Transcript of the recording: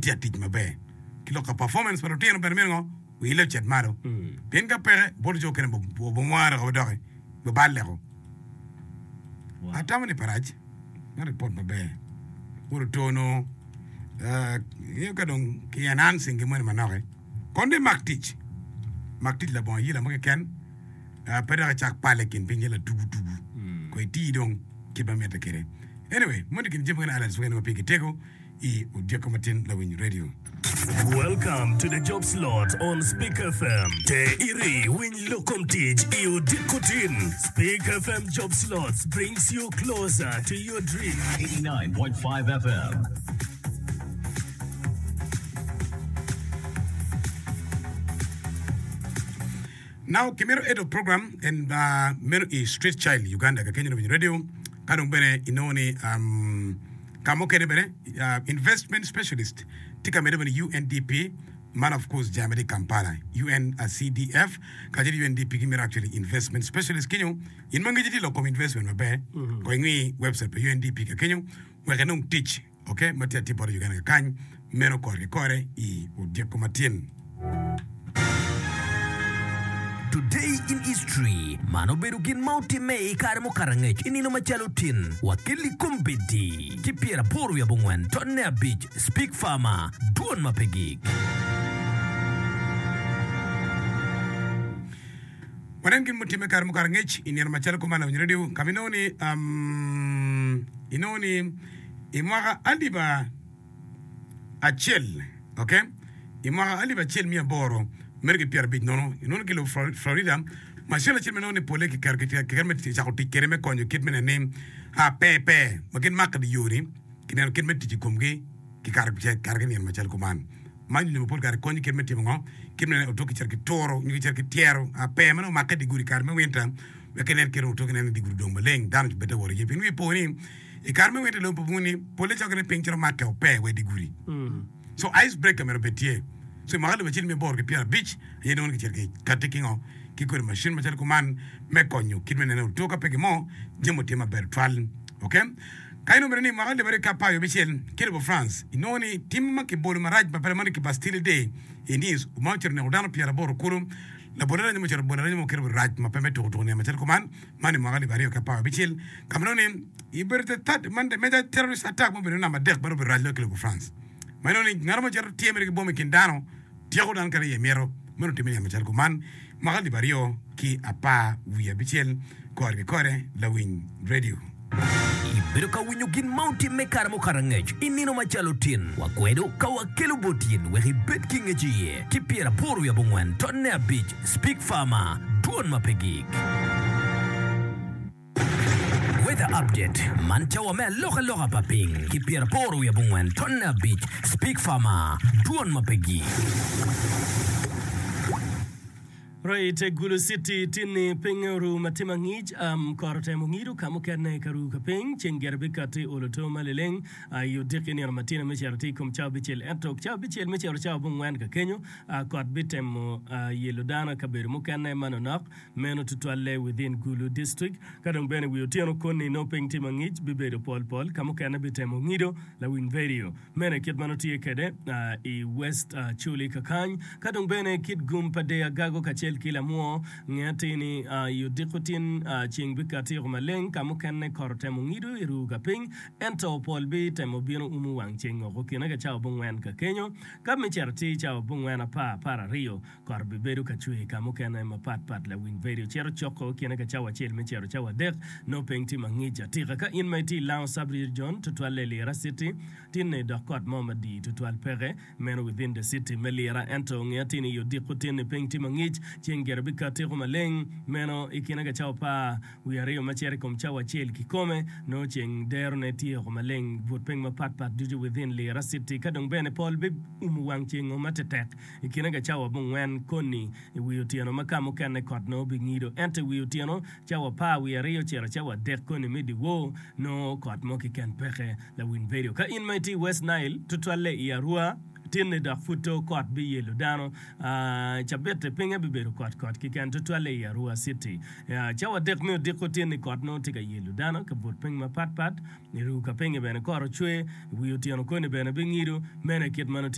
Gitye ka tic maber. Ki lok ka performance pa lutino bene myero ngo oile ocit malo. Pien ka peke, bot jo okene obomware woko doki, biballe ko. Atamo ni pe rac me report maber. Wod oto nongo ingeyo ka dong ki enhancing gin moni manok-ki, kono dong imak tic, mak tic labongo ayela mo keken, pe dok icak pale i kin piny calo latugu tugu, ko iti dong kit ma mitte kwede. Anyway, moni gin jami mukene highlights mukene ma pigi tego. I odyeko matin lawiny radio. Welcome to the job slot on Speak FM. Te iri winy lok kom tic i odiko tin. Speak FM job slots brings you closer to your dream. 89.5 FM. Now kimito edo program en uh, meno i Street Child Uganda ka kenyo lawiny radio ka dong bene inongo ni um, Ka mukene bene, Investment Specialist tye ka medde bene UNDP, man of course jami tye i Kampala, UNCDF kacel ki UNDP gimito actually Investment Specialist kenyo. In ma ngeci tye i lok kom investment maber, kong ingi website pa UNDP ka kenyo wek inong tic ok ma tye atir bot Uganda kakany. Meno kore ki kore i odyeko matin. Today in History, Man obedo gin ma otimme i kare mukato angec i nino macalo tin, wa kelli kombeddi ki pyeraboro wiye abongwen tonne abic Speak Farmer, Dwon ma pe gik. Wanen gin mutimme i kare mukato angec i nino macalo kuman lawiny redio ka ma inongo ni inongo ni i mwaka alip acel ok i mwaka 1885 nono inongo ki lobo Florida macin acel ma inongo ni pole kiketo kiketo me cako tic kwede me konyo kit me neno ni pee pee ma gin make di yo-ni kineno kit me tic i komgi ki kare ki nino macalo kuman. Man nyonyo ma pol kare konyo kit me timo ngo? Kit me neno otok kicito ki turo nyo kicito ki tyero pee ma nongo omakke i dye gudi i kare me winter wek kinen kit otok inen ni dye gudi odong maleng dano obed te wot iye pien wiye po ni I kare me winter lobo pa bunguni polle cok ni piny cito makke ope wa i dye gudi. So ice breaker myero obed tye. So i mwaka 1850 aye nongo kicito ki kati ki ngo ki kodi machine macalo kuman me konyo kit me neno otoka pe ki mo jami tye maber tutwal. Okay? Ka inongo bene ni i mwaka 2016 ki lobo France inongo ni tim ma kibolo marac ma pe lamoni ki Bastille Day i Nice ma ocito neko dano pyeraboro kulu labol aranyi mo ocito bolo aranyi mo kit obedo rac ma pe me tuko tuko nino macalo kuman. Man i mwaka 2016, ka ma nongo ni i obedo the third man the major terrorist attack ma obedo namba adek ma dong obedo rac loyo ki lobo France. Ma inongo ni ngat mo cito tye mere ki bom i kin dano, tyeko dano kadi iye mito. Meno otimme nino macalo kuman mwaka alip aryo ki apar wiye abicel kore ki kore lawiny radio. Ibedo ka winyo gin ma otimme i kare mukato angec i nino macalo tin. Wakwedo ka wakelo bot in wek ibed ki ngec iye ki pyeraboro wiye abongwen tonne abic Speak Farmer, Dwon ma pe gik. Weather Update, Man cawa me alokaloka pa piny ki pyeraboro wiye abongwen tonne abic Speak Farmer, Dwon ma pe gik. Right, Gulu City tinni pinge oru ma tye mangic, um, kot otemo ngido ka mukene ka ru ka piny, ceng gire bikatti olo to ma liling i odiki nino matino me cito tye i kom cawa abicel ento cawa abicel me cito cawa abongwen ka kenyo kot bitemo yelo dano i kabedo mukene manonok meno tutwalle within Gulu District ka dong bene wi otyeno koni nongo piny tye mangic bibedo pol pol ka mukene bitemo ngido lawiny vedio. Meno aye kit ma nongo tye kwede i West Acholi kakany. Ka dong bene kit gum pa deyo agago kacel ki lamwo, nge atir ni i odiko tin ceng bikatti oko maleng, ka mukene kot otemo ngido i ruu ka piny, ento pol bitemo bino umo wang ceng oko kine ka cawa abongwen ka kenyo. Ka me cito atir cawa abongwen apar apararyo, Kot bibedo ka cwer ka mukene mapat pat lawiny vedio cito coko kine ka cawa acel me cito cawa adek nongo piny tye mangic atika. Ka in ma itye i Lango Sub Region tutwalle i Lira City tinne dok kot mo madii tutwal peke meno within the city me Lira ento nge atir ni i odiko tinni piny tye mangic ceng gire bikatiko maleng meno i kine ka cawa apar wiye aryo ma cito i kom cawa acel kikome nongo ceng derone tye oko maleng but piny mapat pat ducu within Lira City ka dong bene pol biumo wang cengo matetek I kine ka cawa abongwen koni i wi otyeno ma ka mukene kot nongo bingido, ento i wi otyeno cawa apar wiye aryo cito cawa adek koni me dyewor nongo kot mo keken peke. Lawiny vedio ka in ma itye i West Nile tutwalle i Arua tinni dok pud to kot biyelo dano. Cabit-ti pinye bibedo kot kot keken tutwalle i Arua City. Cawa adek me odiko tinni kot nongo tye ka yelo dano ka but piny mapat pat. I ruu ka pinye bene kot ocwe, i wi otyeno koni bene bingido. Meno aye kit ma nongo tye.